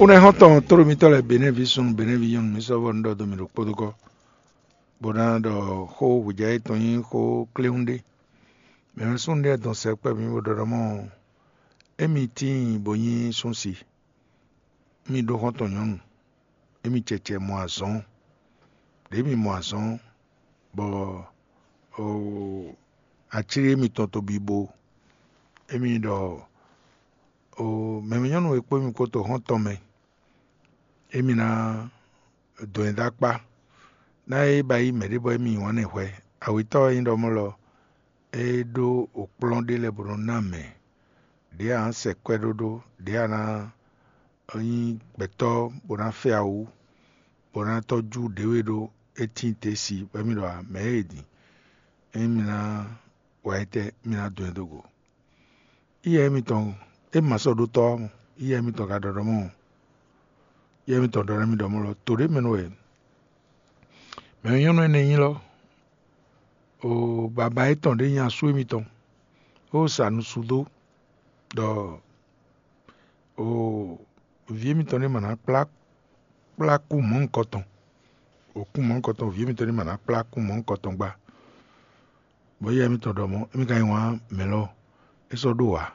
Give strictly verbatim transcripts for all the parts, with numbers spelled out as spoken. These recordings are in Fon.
Xó nɛ́ xɔ́ntɔn tlóló mitɔ́ lɛ́ɛ, Benɛ́vi súnnu, Benɛ́vi nyɔ́nu, mi sɔ́ vɔ́ nǔ ɖɔ dó mì ɖo kpódókɔ́, bó ná ɖɔ xó hwejǎ yětɔn nyí xó kléwún ɖé. Mɛ̌ wɛ súnnu ɖé dɔn sɛkpɛ́ mǐ bó ɖɔ ɖɔ mɔ̌, émí tíin bó nyí súnsi. Émí ɖó xɔ́ntɔn nyɔ̌nu, émí cɛcɛ mɔ azɔ̌, ɖěe mì mɔ azɔ̌, bɔ acílí émítɔn to bibo. Émí ɖɔ mɛ̌mɛ́ nyɔ́nu e kpó émí kpó to xɔ́ntɔn mɛ, émí ná dɔn ɛ dó akpá. Ná é ba yí mɛ̌ ɖé bɔ émí nyi wǎn nɛ́ hwɛ. Awětɔ́ e nyí ɖɔ mɔ̌ lɔ, é ɖó okplɔ́n ɖé lɛ́ɛ bó nɔ́ ná mɛ. Ɖěe a nǎ sɛ kwɛ́ ɖó ɖó, ɖěe a nǎ nyí gbɛtɔ́ bó ná fɛ awu, bó ná tɔ́jú ɖěwe ɖó, é tíin te si bɔ émí ɖɔ ǎ, mɛ̌ e din? Ényí mi ná wa étɛ́, mi ná dɔn ɛ dó go. Yíyá émítɔn, é ma sɔ́ ɖó tɔ́ ɔ́ mɔ, yíyá émítɔn ka ɖɔ ɖɔ mɔ̌, yíyá émítɔn ɖɔ nú mì ɖɔ mɔ̌ lɔ, to ɖé mɛ nú wɛ mɛ̌ nyɔ́nu énɛ́ nyí lɔ, o baba yětɔn ɖě nyi asú émítɔn, bó sa nusú dó ɖɔ o vǐ émítɔn ní ma ná kplá kplá kú mɔ̌hunkɔtɔn, o kú mɔ̌hunkɔtɔn, vǐ émítɔn ní ma ná kplá kú mɔ̌hunkɔtɔn gbá. Bɔ yíyá émítɔn ɖɔ mɔ̌, émí ka nyi wǎn mɛ̌ lɔ, é sɔ́ ɖó ǎ.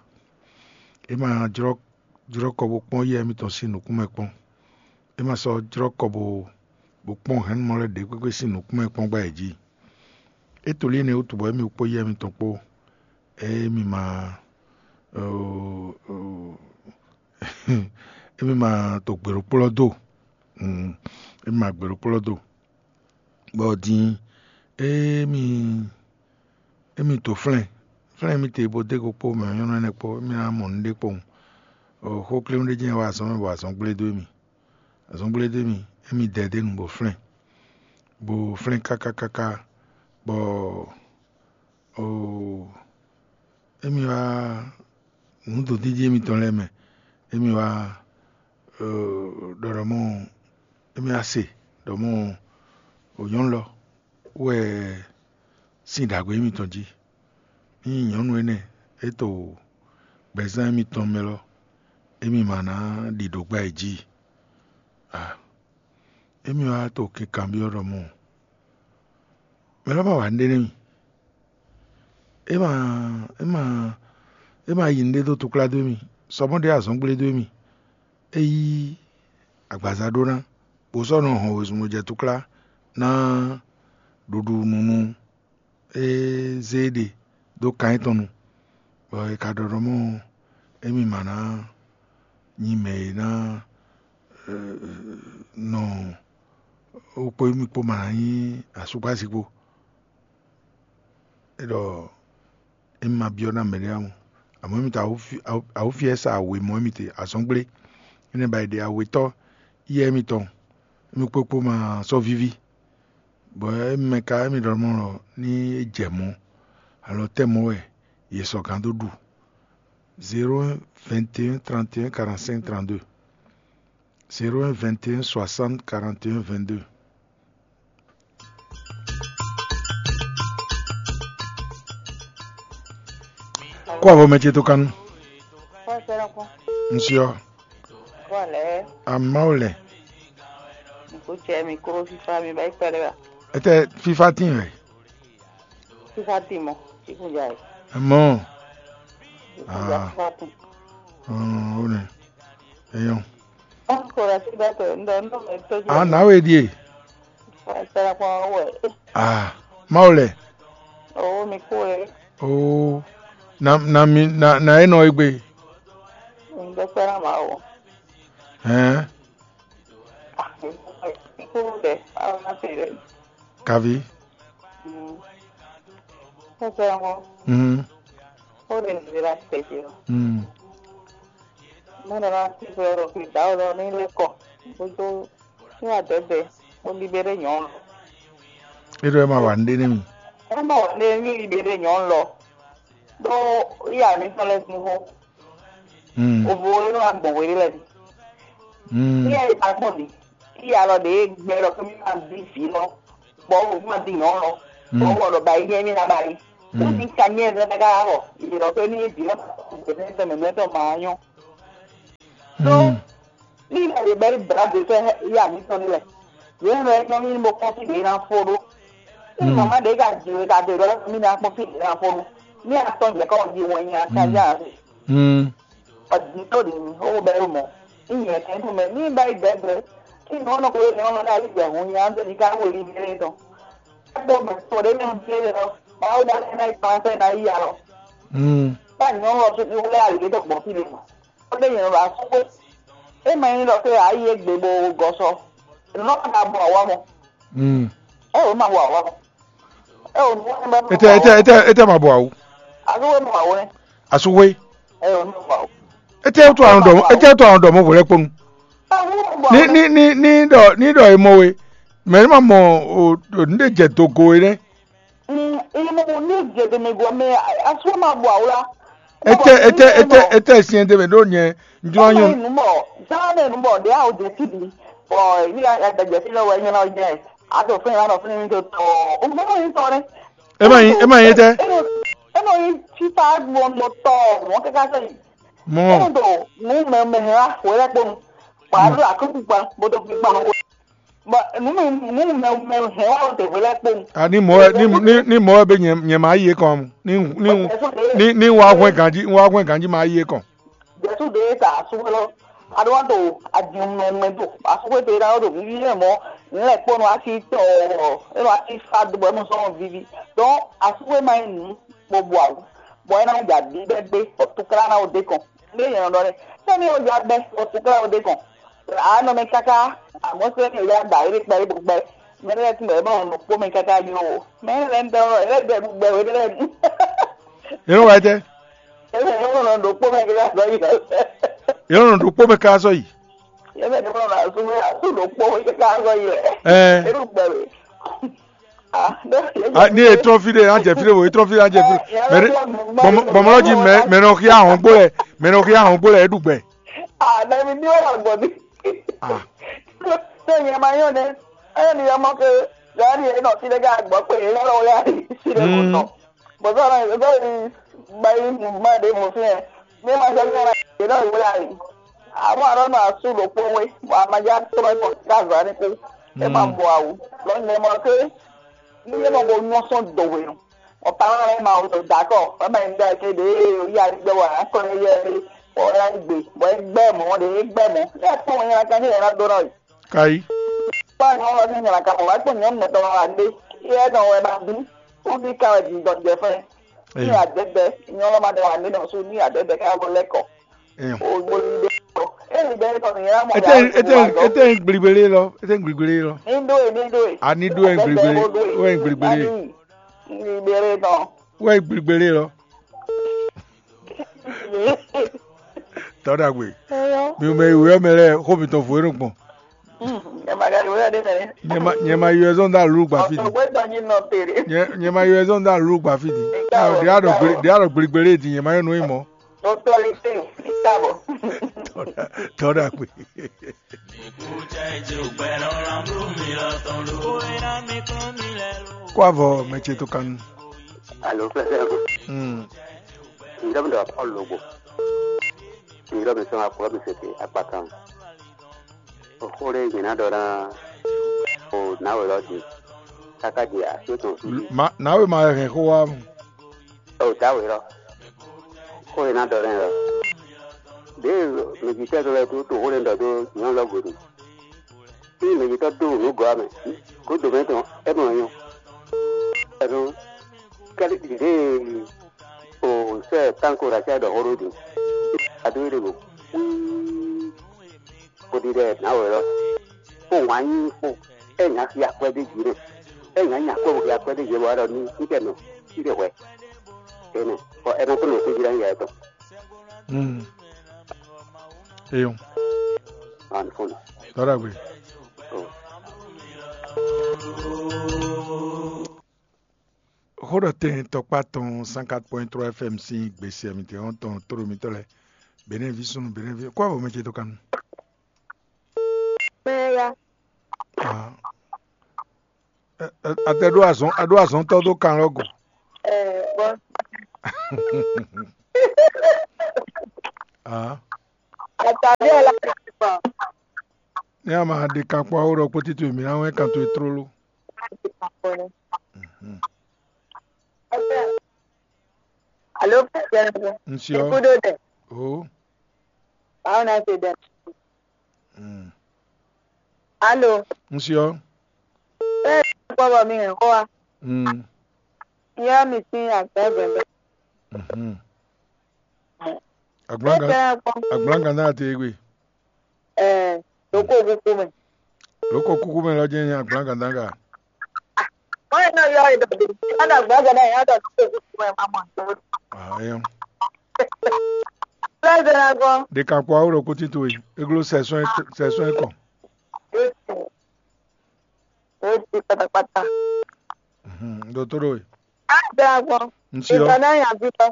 É ma jlɔ́ jlɔ́ kɔ bó kpɔ́n yíyá émítɔn sín nǔkún mɛ kpɔ́n. É ma sɔ́ jlɔ́ kɔ bó bó kpɔ́n hɛ̌nnumɔ lɛ́ɛ ɖě kpékpé sín nǔkún mɛ kpɔ́n gbá yě jí. É to lí énɛ́ wútu bɔ émí kpó yíyá émítɔn kpó, émí ma émí ma to gběɖokplɔ́ do. Émí ma gběɖokplɔ́ do. Bɔ din émí émí to flɛ́n flɛ́n émí te bó dó go kpó mɛ nyɔ́nɔ énɛ́ kpó, émí ná mɔ nǔɖé kpowun. Xó kléwún ɖé jɛ́n wá azɔn mɛ bɔ azɔn gblé dó émí. Azɔn gblé dó émí, émí dɛ dó nu bó flɛ́n, bó flɛ́n káká káká, bɔ émí wá nǔ dodídí émítɔn lɛ́ɛ mɛ, émí wá ɖɔ ɖɔ mɔ émí wá se ɖɔ mɔ nyɔ̌nu lɔ wɛ sín ɖǎgbé émítɔn jí. Ényí nyɔ̌nu énɛ́ é to gbɛzán émítɔn mɛ lɔ, émí ma ná ɖi ɖǒ gbá yě jí a? Émí wá to kinkanbyɔ́ ɖɔ mɔ mɛ lɔ ma wa nǔɖé nú mì. É ma é ma é ma yi nǔɖé dó túklá dó mì, sɔ mɔ̌ ɖě azɔ̌ gblé dó mì. É yí agbaza ɖó ná, bó sɔ́ nɔ hɔn wezun bó jɛ túklá ná ɖuɖu nunu é zé ɖe dó kan étɔn nu, bɔ è ka ɖɔ ɖɔ mɔ émí ma ná nyi mɛ e ná nɔ wú kpó émí kpó ma ná nyí asúkpási kpó. É ɖɔ émí ma byɔ́ ná mɛɖé ǎ mɔ, amɔ̌ émí ta awǔfiɛ sa wěmɔ émítɔn azɔ̌ gblé. Énɛ́ ba è ɖe awětɔ́ yíyá émítɔn, émí kpó kpó ma sɔ́ víví. Bɔ émí mɛ ka émí ɖɔ mɔ̌ lɔ ní é jɛ mɔ̌, alɔ tɛ́ mɔ̌ wɛ yě sɔ́ gán dó ɖu. Zéro un vingt et un trente et un quarante-cinq trente-deux. Zéro un vingt et un soixante quarante et un vingt-deux. Kó avɔ mɛ ce tó kánú. Kɔsɛrɛ kɔ. Ŋsyɔ. Kɔlɛ. Amawo lɛ. Nko cɛ mi kro fifa mi ba ikpɛlɛ ba. Ete fifa tin wɛ. Fifa tin mɔ. Ikun ja yi. Mɔ. Ikun ja Ah. Fifa tin. Ɔn, o nɛ. Eyɔn. Kɔlɛ si bɛ tɔ ndɔ ndɔ mɛ tɔjú. Ah, na we die. Kɔsɛrɛ kɔ wɛ. Ah, mawo lɛ. O mi ko e. O na na mi na na enɔ egbe. Ndɔ kpɛrɛ ma o. Hɛn. Ikú dɛ, awo na se dɛ. Kavi. Kɔsɛ ŋɔ. Mhm. O de ne la se ti o. Mhm. Mo na la ti ko ro ki da o lo ni le ko. Bo do ni wa dɛ bɛ. Bo libéré nyɔn. E ɖɔ e ma wa nɖe ne mi. E ma wa nɖe mi libéré nyɔn lɔ. Do iya mi tɔn lɛ sin ho. Mm. Ovo lé wá gbɔn wéré lɛ mi. Mm. Iya yi ta gbɔn mi. Iya lɔ de gbɛ lɔ kemi ma di vi lɔ. Bɔ o ma di nyɔn lɔ. Mm. Bɔ wɔ lɔ ba yi nyɛ mi na ba yi. Mm. O ti ka nyɛ lɛ ka wɔ. Yi lɔ kemi di lɔ. Gbɛ mɛ mɛ tɔ ma nyɔ. So, mm. Ni lɛ bɛ́ bla de fɛ yá mǐtɔn ní lɛ. Yě nɔ é nɔ mì bó kpɔ́n fí ɖě ná fó ɖó. Ní mama ɖě ka jǐ we ka do ɖɔ mì ná kpɔ́n fí ɖě ná fó ɖó. Ní atɔn jɛ kɔ jí wɛn nya ka já ase. Ɔdí tó ɖě mi ó bɛ ɖo mɔ. Ní nyɛ kɛn tó mɛ ní bá yi gbɛgbɛ. Ní nɔ nɔ kó ní ɔnɔ ká yi gbɛ hun nya tó ní ká wé ní bɛ tɔn. Kpó mɛ tó ɖě mi bɛ lɔ. Báwo dá ná yi kpán fẹ́ ná yi alɔ. Bá nyɔ́ lɔ tó ní wọlé àlè tó gbɔn fí lè mɔ. Ó ɖe nyɛ ɖo asúxwé. É ma nyí ɖɔ xwé ǎ yi égbé bó gɔ́ sɔ. Nǔ nɔ ka bɔ awǎ mɔ. Mm. É wǒ ma bɔ awǎ mɔ. É wǒ nú wɛn bɛ Ete ete ete ete ma bɔ awu. Asúxwé mɔ awǒ nɛ́. Asúxwé. É wǒ nú bɔ awǒ. Ete to àwọn dɔmɔ ete to àwọn dɔmɔ wòlɛ kponu. É wǒ mɔ bɔ Ni awǒ nɛ́. Ni ni ni dɔ ni dɔ emɔ we. Mɛ ni ma mɔ o o ni de jɛ dogo we nɛ. Mm, e mo ní jɛ ɖe mɛ gɔ́ mɛ asúmɔ ma bɔ awla. Ete ete ete ete siɛn de mɛ ɖo nyɛ njɔ Eme nyɔ. Numɔ, zan mɛ numɔ ɖe awo jɛ ti bi. Bɔ yi a da jɛ ti lɛ wɛ nyɔ na jɛ. A to fɛn ya nɔ fɛn mi to tɔ. O mo ni tɔ ne. Ema yi ema yi tɛ. Eno eno yi ti ta gbɔn mo tɔ mo kaka sɛ yi. Mɔ. Eno to nu mɛ mɛ hɛn wa wɛ lɛ kpɔn. Wa do akɔkukpa bo to fi kpa. Bɔ nu mɛ nu mɛ mɛ hɛn wa o te wɛ lɛ kpɔn. A ni mɔ wɛ ni ni ni mɔ wɛ be nyɛ nyɛ ma yi e kɔn mu. Ni ni ni ni wa hwɛn ganji wa hwɛn ganji ma yi e kɔn. Jɛsu ɖe ta asúgbó lɔ aɖó wa to adinmɛmɛ do asúgbó te ɖa ɖo vivi lɛ mɔ. Nlɛ kpɔnu asi tɔ ɔ eno asi fa do bɔ eno sɔn vivi. Donc asúgbó ma yi nu kpɔ bɔ awu bɔ ena ja bi bɛ gbe ɔ tukla na o de kɔn. Ne yɛn ɖɔ ne sɛni o ja bɛ ɔ tukla o de kɔn. Anɔ mɛ kaka amɔ sɛni o ja da ere kpɛ ebo gbɛ. Mɛ ne ti mɛ bɔ nɔ kpɔ mɛ kaka yo. Mɛ ne lɛ ntɛ ɔ ele bɛ gbɛ o ele lɛ. Yɛn wá tɛ. Ele yɛn nɔ ɖo kpɔ mɛ kaka sɔ yi. Yɛn nɔ ɖo kpɔ mɛ kaka sɔ yi. Ele nɔ na su mɛ su ɖo kpɔ mɛ kaka sɔ yi lɛ. Ɛɛ. Ele gbɛ we. Ah, ne. Ah, ni etrɔn fi ɖe an jɛ fi ɖe wo etrɔn fi ɖe an jɛ fi ɖe. Mɛ ɖe bɔmɔ bɔmɔ ji mɛ mɛ nɔ xia ahɔn gbó lɛ mɛ nɔ xia ahɔn gbó lɛ eɖu gbɛ. Ah, na mi ni wala gbɔ mi. Ah. Ṣé ìyẹn máa yàn ní? Ẹ̀yẹ́ ni ọmọ ke gàárì ẹ̀ náà ti lé ká gbọ́ pé èyí lọ́wọ́ lé àrí sílẹ̀ kò tọ̀. Bọ̀dọ̀ náà ìgbésẹ̀ yìí gba yín mú má dé mú sí ẹ̀. Ní máa ṣe ní ọ̀rọ̀ ìgbésẹ̀ náà ìwé àrí. Àwọn àrọ́ náà sùn ló pọ́nwé. Àmàjá tó máa ń pọ̀ káàzá ní kú. Ẹ máa bọ̀ àwù. Lọ́nà ẹ̀ mọ̀ pé ní ẹ̀ mọ̀ bọ̀ yún ọ̀sán dòwe nù. Ọ̀pá wọn ẹ̀ máa wò dàkọ̀. Ẹ máa ń gbé kéde oyè àrígbẹ́ wà á kọ́ ẹ yẹ ẹ. Ọ̀rẹ́ ìgbè. Bọ̀ ẹ gbẹ́ mọ́, ẹ gbẹ́ mọ́. Ẹ pọ̀ wọn yẹn kan ní ẹ̀rọ dọ́rọ̀ yìí. Kayi. Kpɔ́n nyɔ̌nu ɔ́ sín nylǎ ka mɔ wá kpɔ́n nyɔ̌nu mɛtɔn wá ɖé. Yɛ nɔ wɛ ma bí. Wọ́n fi ká wɛ jǐ dɔn jɛ fún ẹ. Ní àdẹ́gbẹ́, nyɔ̌nu ma dɛ wà nínú ọ̀sùn ní àdẹ́gbẹ́ ká bọ́ lẹ́kọ̀ọ́. Ògbólú ibẹ̀ kọ́. Èyí bẹ́ẹ̀ kọ́ nìyẹn mọ̀ Ete yá ete ete ń gbligbele lɔ, ete ń gbligbele lɔ. Ní dó è ní dó è. A ní dó ẹ̀ ń gbligbele, ó ẹ̀ ń gbligbele. Ní ìbéèrè náà. Ó ẹ̀ ń gbligbele lɔ. Tɔ́ ɖagbe. Mi mɛ yi wɛ mɛ lɛ xó mi tɔn vo e nɔ gbɔn. Nyɛ ma ka yi wɛ ɖe mɛ. Nyɛ ma nyɛ ma yi wɛ zɔn da lu gba fi di. Ɔgbɛ tɔ nyi nɔ tere. Nyɛ nyɛ ma yi wɛ zɔn da lu gba fi di. Ɖe a ɖɔ gble ɖe a ɖɔ gbligbele di nyɛ ma yɔ nɔ yi mɔ. Autorité, tabɔ. Tɔ́ ɖagbe. Kó avɔ mɛ ce tó kanu. Alo, fɛfɛ. Hmm. Ŋdɔ mi ɖɔ Paul Logbo. Ŋdɔ mi sɔn akplɔ mi sete akpakan. O xó ɖé nyina ɖɔ ná o nǎwe lɔ di. Kaka di asi tɔn fi. Ma nǎwe ma hɛn xó wá mu. O dawe lɔ. Xó e ná ɖɔ lɛ́ɛ lɔ. Ɖěe mɛjitɔ́ lɛ́ɛ dó to xó lɛ́ɛ ɖɔ dó nyɔ̌nu lɔ gbe ɖu. Ée mɛ yětɔn dó nǔ gɔ́ ɔ́ mɛ, gǒdo mɛ tɔn é mɔ nyɔ. Ɛnú kɛ́ɖíɖi ɖěe o sɛ́ tánko ɖo acɛ ɖɔ xó ɖó din. Adó é ɖe go. Xó ɖiɖɛ nǎ wɛ lɔ. Xó wǎn nyí xó. É nyǎ xi akwɛ́ ɖé jǐ nɛ. É nyǎ nya xó xi akwɛ́ ɖé jǐ bɔ é ɖɔ nú fítɛ́ nɔ fí ɖé hwɛ. Énɛ́ bɔ é ná kó nɔ xwé jí ɖó anyǐ yɛ tɔn. Mm. Eyɔn. An fún mi. Tɔ́ ɖagbe. Oh. Xó ɖɔ tɛn tɔkpá tɔn cent quatre point trois F M sín gbèsè mǐtɛn ɔ́ tɔn tóɖo mitɔ́ lɛ́ɛ. Benɛ́vi súnnu Benɛ́vi kó avɔ mɛ ce dó kanu. Mɛ ya. Ah. Ɛ, ɛ, Ate ɖó azɔn, aɖó azɔntɔ́ dó kan lɔ́ go. Ɛ, bɔ. Ah. Àtàlẹ́ ẹ̀ la ti pa. Ne a ma ɖe kankpo awo ɖɔ kpótí towe mǐ ná wɛn kan towe tlóló. Mhm. Alo, Un siɔ. Kudo de. O. Báwo na ṣe dẹ? Mm. Alo. Un siɔ. Bẹ́ẹ̀ ni kpɔ́bɔ mi hɛn xó wa. Mm. Yɔ mi sín àgbẹ̀ bẹ̀bẹ̀. Mhm. Agblanga. Bẹ́ẹ̀ bẹ́ẹ̀ kpɔ́. Agblanga náà ti gbe. Ɛɛ, ɖokó kúkú mɛ. Ɖokó kúkú mɛ lɔ jẹ́ nyɛ agblanga danga. Wọ́n yẹn náà yọ ìdọ̀dọ̀. Wọ́n dàgbà gẹ́gẹ́ yẹn dọ̀ tó kúkú mɛ máa mọ̀ tó. Ah, yeah. Lẹ́sẹ̀ náà gan. De kakpɔ awo ɖo kútí towe. Eglo sɛsɔn sɛsɔn kɔ. Ó ti ó ti pátápátá. Dotoro. Á gbé agbɔn. Nsio. Ìgbà náà yàn bí lọ.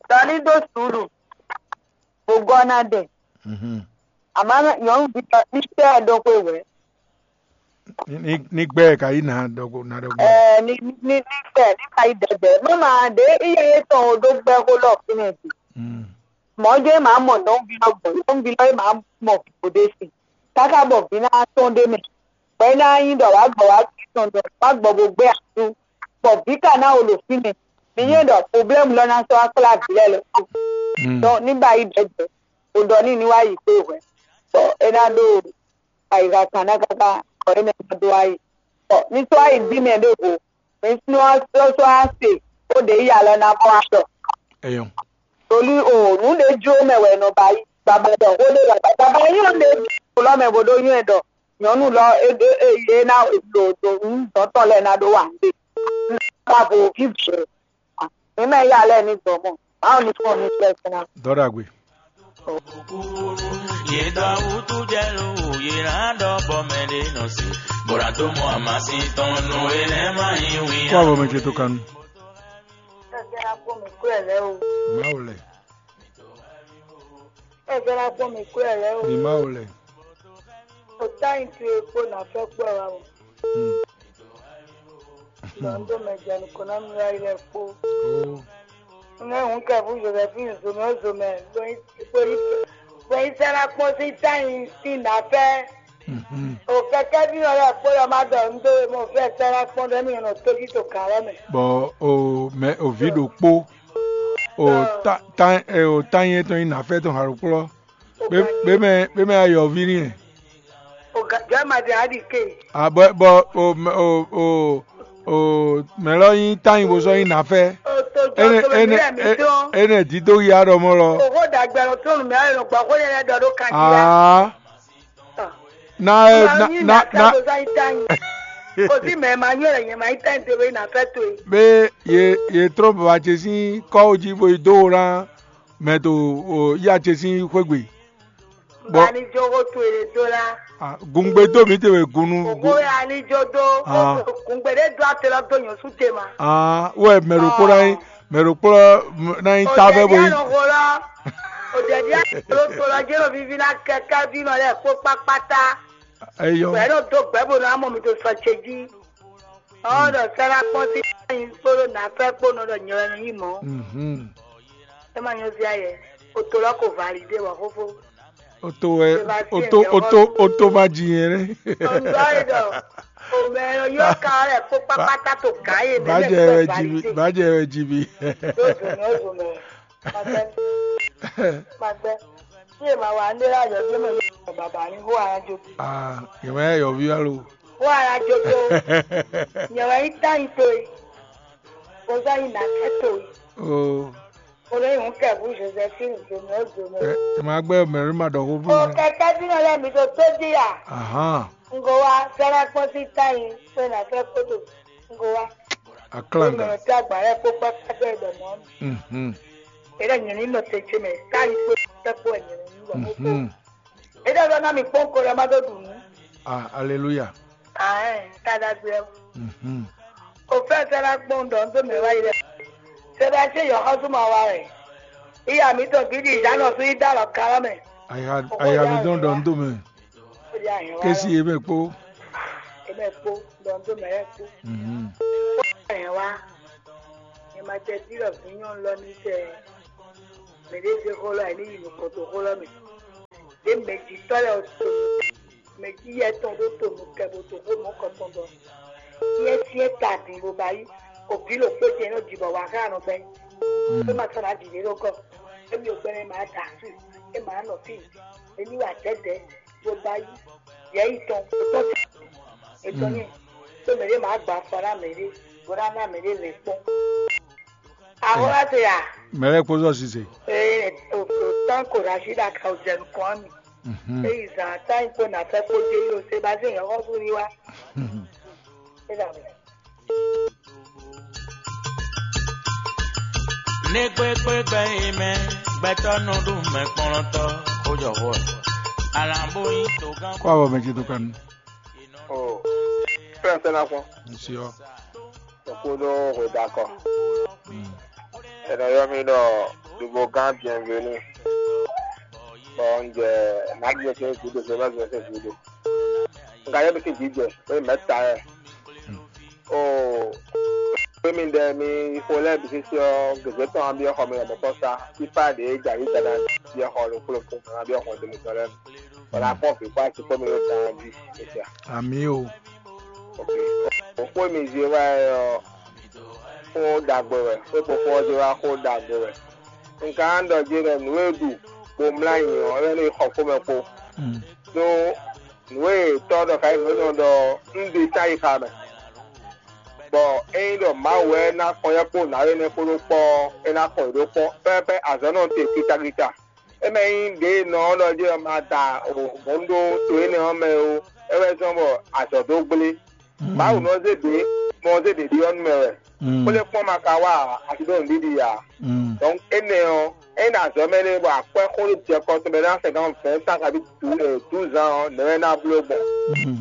Dɔní dó sùúrù. Gbogbo ɔna dɛ. Mhm. Àmọ́ nyɔ̌nu bí lọ ní tẹ́ ɛ dó xwé wɛ. Ní ní gbɛ ka yí na dɔgbo na dɔgbo. Ɛ ní ní ní gbɛ ní ka yí dɛdɛ. Mama ɖe iye yé tɔn o ɖó gbɛ xó lɔ fínɛ́ bi. Mm. Mɔ̌ jẹ́ màá mɔ nyɔ̌nu bí lɔ gbɔn, nyɔ̌nu bí lɔ yé màá mɔ bòdé si. Káká bɔ bí ná tɔn ɖé mɛ. Bɔ é ná nyí ɖɔ wǎ gbɔ wá gbé tɔn ɖɔ wá gbɔ bó gbé asú. Bɔ vǐ ka ná wo ɖo fínɛ́. Mi nyɛ ɖɔ problème lɔ ná sɔ́ wá kplá vǐ lɛ́ɛ lɔ. Mm. Donc ní ba yi ɖɛ̌ jɛ, o ɖɔ ní ní wá yi kpé hwɛ̌. Bɔ é ná ɖó ayixa kan ná káká bɔ é mɛ ná dó wá yi. Bɔ ní sɔ́ wá yi bí mɛ ɖěvo, mi sún ɔ́ sɔ́ sɔ́ wá se, ó ɖě yi alɔ ná mɔ wá ɖɔ. Eyɔn. Torí o nǔ ɖé jló mɛ wɛ è nɔ ba yi. Baba ɖɔ xó ɖé baba baba nyɔ́ ɖé jló lɔ mɛ bó ɖó nywɛ́ ɖɔ nyɔ̌nu lɔ é é é ná ɖo ɖo nǔ dɔ̌tɔ́ lɛ́ɛ ná ɖó wa nǔ ɖé. Babo vívǔ. Mǐ mɛ yá lɛ́ɛ ní dɔ̌ mɔ. Báwo ni fún ọ ní fẹ́ fún ná? Dɔ́ ɖagbe. Yě dɔ wútú jɛ ló yě ná ɖɔ bɔ mɛ ɖé nɔ se. Bó ná dó mɔ amasin tɔn nú énɛ́ má nyí wín. Kó avɔ mɛ ce tó kanu. Ẹgbẹ́ akpọ̀ mi kú ẹ̀ lẹ́ o. Má o lẹ̀. Ẹgbẹ́ akpọ̀ mi kú ẹ̀ lẹ́ o. Mi má o lẹ̀. O tá yín tu epo nà fẹ́ kpọ̀ wa o. Hmm. Lɔ ń dó mɛ jɛ nukɔn ná mi wá yi lɛ kpó. Oh. Ŋɛ hǔn kɛ fún Josephine zomɛ ó zomɛ. Gbɛ̀yìn sɛ́ ná kpɔ́n sín tá yín sín nà fẹ́. Mhm. O kɛkɛ́ví ɔ́ lɛ́ɛ kpó yɔ má ɖɔ un dó we mɔ fɛ́ sɛ́ ná kpɔ́n ɖɔ émí nɔ tójí to gǎn lɛ́ɛ mɛ. Bɔ o mɛ o vǐ ɖokpó o tá tá ɛ o tá nyɛ tɔn nyí nǎfɛ tɔn hǎlókplɔ́. Bé bé mɛ bé mɛ ayɔví n'i ɛ. O gǎ jɔ ma ɖe aɖi ke. A bɔ bɔ o mɛ- o o o mɛ lɔ nyí tá nyí bó sɔ́ nyí nǎfɛ. O to jɔ Énɛ́ to mɛ énɛ́ mi lɛ mi é- tɔn. Énɛ́ dídó ya ɖɔ mɔ lɔ. O xó dàgbà lọ tó nu mi ayọ̀ gbà xó yẹn lɛ dɔ ɖó kan jí la. Aa. Na ɛ na na na. Kò sí mɛ ma nyɔ lɛ nyɛ ma yi tɛn te be na fɛ to ye. Be ye ye trɔn baba ce sín kɔwo jí bo yi dó wo ná mɛ to o ya ce sín xwégbe. Bɔ ani jo ko to ye do la. Ah, gungbe dó mi te wɛ gunu. Koko ya ani jo do. Ah. Gungbe de do ate lɔ do nyɔ su te ma. Ah, wɛ mɛ ɖo kpó ná yín mɛ ɖo kplɔ ná yín ta fɛ bo yi. Òjẹ̀dí àlọ́ tó lọ jẹ́ òbí fi ná kẹ́kẹ́ bí nọ lẹ́ kó pápátá. Eyɔ. Pẹ̀lú tó gbẹ́ bò náà mọ̀ mi tó sọ ṣe jí. Ọ̀dọ̀ sẹ́lá pọ́n sí ẹ̀yìn kpódó nà fẹ́ kpó nọ dọ̀ nyọ̀rọ̀ ẹnu yìí mọ́. Mhm. Ẹ má nyɔ sí ayẹ. O tó lọ kò validé wà fófó. O tó wɛ o tó o tó o tó ma jì yẹn rẹ. Ọ̀dọ́ ìdọ̀ òmẹ ẹ̀rọ yóò ká ọ rẹ̀ kó pápátá tó ká yé mi. Bàjẹ́ rẹ jì mí bàjẹ́ rẹ jì mí. Yóò dùn mí ó dùn mí. Magbɛ. Magbɛ. Tí èèmà wà ń dé láyọ̀ tí mo yọ bàbá ní hó ara jókè. Ah, yẹ̀wò ẹ̀ yọ̀ bí wá lo. Hó ara jókè o. Yẹ̀wò ẹ̀ yín táyì tó yìí. Kò sọ yìí nà kẹ́ tó yìí. O. Kò lè hùn kẹ̀kú Josephine Zomi ó Zomi. Ẹ ẹ máa gbẹ́ mẹ̀rí máa dọ̀kú fún O mi. Kẹ̀kẹ́ bí wọn lẹ́mìí tó tó díyà. Ahán. N kò wá sẹ́rẹ́ pọ́n sí táyì pé nà fẹ́ kótó. N kò wá. Aklanga. Mɛ tí agba yɛ kpó kpákpá dɛ dɔ mɔ. Mhm. Ele nyɛ ni nɔ te tse mɛ ka yi kpó kpɛkpó nyɛ ni wɔ mo kpó. Mhm. Ele dɔ na mi kpɔn ko lɛ ma dɔ dunu. Ah, alléluia. Ah, eh, ta da gbɛ. Mhm. O fɛ sɛ la kpɔn dɔ n to mɛ wa yi lɛ. Sɛ da se yɔ xɔsu ma wa rɛ. Iya mi tɔ bi di ja nɔ su yi da lɔ kala mɛ. Aya aya mi dɔn dɔ n to mɛ. Ó di ahɛn wa. Kesi eme kpó. Eme kpó dɔ n to mɛ yɛ kpó. Mhm. Ɛ wá, ɛ ma tɛ dí lɔ fún nyɔnu lɔ ní tɛ mɛ ɖé zé xó lɔ ɛ ní yi nukɔn to xó lɔ mɛ. Ɖé mɛ jǐtɔ́ lɛ to Mɛ jí yɛ tɔn ɖó to nukɛ bó to xó mɔ̌kɔtɔn ɖɔ. Yɛ syɛ́n ta din bó ba yí. Òbí ló kpé jɛ nɔ jibɔ wá xá nɔ bɛ. É ma sɔn ná jǐ ɖé ɖó kɔ. Émi ò gbɛnɛ ma da su. É ma nɔ fí. Ení wà dɛdɛ bó ba yí. Yɛ yi tɔn. Tɔn ti. Etɔn nyɛ. Tó mɛ ɖé ma gba afɔ ná mɛ ɖé. Bó ná ná mɛ ɖé lɛ kpɔn. Ahora te ya. Mɛlɛ kpózɔ sise. Ee, o o tán kò rà sí ɖa ka o jẹ nukɔn mi. Mhm. Eyi zan ata yi kpó na fẹ́ kpó dé yó se ba zé yẹn xɔ fún mi wá. Eda mi. Ní kpékpé gbɛ yi mɛ, gbɛtɔ́ nɔ ɖu mɛ kplɔntɔ, kó jɔ hɔ. Alambo yi to gán. Kó awɔ mɛ ce tó kanu. O fɛn fɛn na kpɔn. Nsi ɔ. Kpódó hwedakɔ. È nɔ ylɔ́ mì ɖɔ Dubogán Bienvenu. Bɔ un jɛ Nagbiɛ sín gǔdo, Zomɛ́ Zomɛ́ sín gǔdo. Un ka ylɔ́ mì sín jǐjɛ, bó nyí mɛ̌ ta wɛ. Oo, xwé mi ɖɛ mi xo lɛ́ɛ bǐ sísí ɔ́, gěgé tɔn ɔ́ byɔ́ xɔ mi lɔmɔ̌ tɔn sá. Fífá ɖě jɛ ayǐ dada byɔ́ xɔ ɖokpó ɖokpó, mɛ ná byɔ́ xɔ do mitɔn lɛ́ɛ mɛ. Bɔ ná kpɔ́n vǐ kpó asi kpó mi ɖó tan jí. Amǐ o. Ok. Xó mi zé wá ɛ ɔ́, xó ɖagbe wɛ, xó e xó ɔ́ zé wá xó ɖagbe wɛ. Un ka ɖɔ jí ɖɔ nǔ e ɖu bo mlá nyi ɔ́, é wɛ nɔ yi xɔ xomɛ kpo. Ɖó nǔ e tɔ́ ɖɔ ka nyí nǔ e nɔ ɖɔ un ɖe ta yi xa mɛ. Bɔ ényí ɖɔ Mawu wɛ ná kɔn yɛ kpó nǎwe énɛ́ kpó ɖó kpɔ́ ɔ́, é ná kɔn yě ɖó kpɔ́. Pɛ́pɛ́ azɔ̌ nɔ te kítákítá. É mɛ nyí ɖě e nɔ ɔ́ ɖɔ jí ɔ́ ma da hɔ̌n ɖó to énɛ́ ɔ́ mɛ ó, é wɛ zɔ́n bɔ azɔ̌ dó gblé. Mawu nɔ zé ɖě, mɔ zé ɖě ɖiɖɔ nú mɛ wɛ. Xwlé kpɔ́n ma ka wá ǎ, a ti ɖó nǔɖiɖi ǎ. Donc énɛ́ ɔ́, ényí ɖo azɔ̌ mɛ nɛ́ bɔ akwɛ́ xó ɖó jɛ kɔ tɔn mɛ ná sɛgán vɛ̌ cent kabí douze ans ɔ́, nɛ̌ wɛ ná bló gbɔn?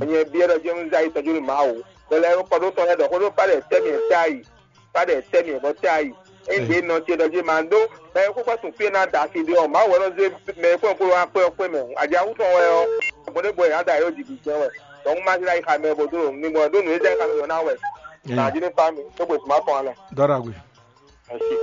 Nyɛ biɛ ɖɔ jɛ́n un zé ayi tɔjú nú Mawu. Bɔ lɛ kɔ ɖó tɔn lɛ́ɛ ɖɔ xó ɖó pá ɖɛ tɛ́ mì tɛ́ ayi, pá ɖɛ tɛ́ mì bɔ tɛ́ ayi. Ényí ɖě nɔ ce ɖɔ jí ma ɖó mɛ e xó kpɛ́ sun fí e ná da asi ɖé ɔ́, Mawu wɛ nɔ zé mɛ e kpɔ́n kpó wá kpé ɔ́ kpé mɛ. Aɖi awú tɔn wɛ ɔ́, gbɔn ɖé bɔ è nǎ da yǒ jǐ jɛ́n wɛ. Donc un ma zé ɖo ayi xa mɛ bo dó ɖo ní gbɔn ɖó nǔ e zɛ xá mì ɔ́ ná wɛ. Nǎ jí ní fá mi, tó gbe suma kɔn alɛ. Dɔ́ ɖagbe. Merci.